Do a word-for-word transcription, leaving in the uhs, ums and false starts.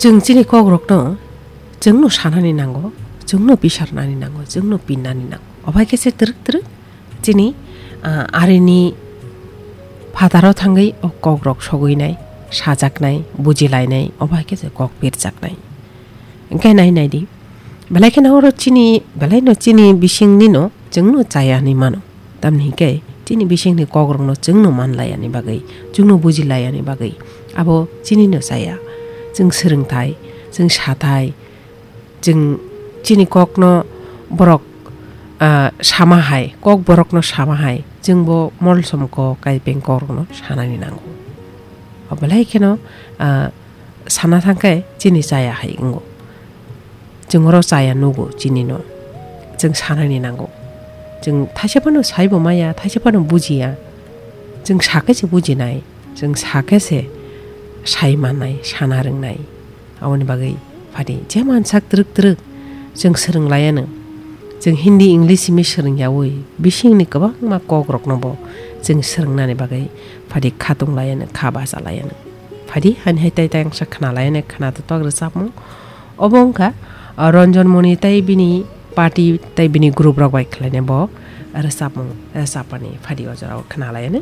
Chwng chini kokrokno chwngno sanani nango, chwngno pisarnani nango, chwngno pinnani nango. Obo hai khe se twrwk twrwk chini, ah, arini phataro thangwi o kokrok sogwinai, sajaknai, bujilainai, obo hai khe se kok pirjaknai. Hwnkhe nai nai di, belai kheno oro chini, belaino chini bisingnino chwngno chaya hinwi mano. Tamni hwnkhe chini bisingni kokrokno chwngno manlayani bagwi, chwngno bujilayani bagwi abo chinino chaya. Chwng swrwngthai, chwng sathai, chwng chini kokno borok, ah, sama hai, kok borokno sama hai, chwngbo molsom kok, kaipeng kokrokno sanani nango. O belai kheno, ah, sana thangkhe chini chaya hai wngo. Chwng oro chaya nugo chinino. Chwng sanani nango. Chwng thaisa phano saibo maya, thaisa phano bujiya. Chwng sakhe se bujinai, chwng sakhe se sai mannai, sana rwngnai. Aboni bagwi phadi je mansak twrwk twrwk chwng swrwnglayano. Chwng Hindi, English simi swrwngyawi bisingni kwbangma kokroknobo chwng swrwngnani bagwi phadi khatunglayano, kha bachalayano. Phadi hani hai tai tai angsa khnalayano, khna totok rwchapmung. Obo wngkha, ah, Ranjan Moni tei bini party tei bini group rok bai khlainai bo rwchapmung, rwchapmani phadi o jorao khnalayano.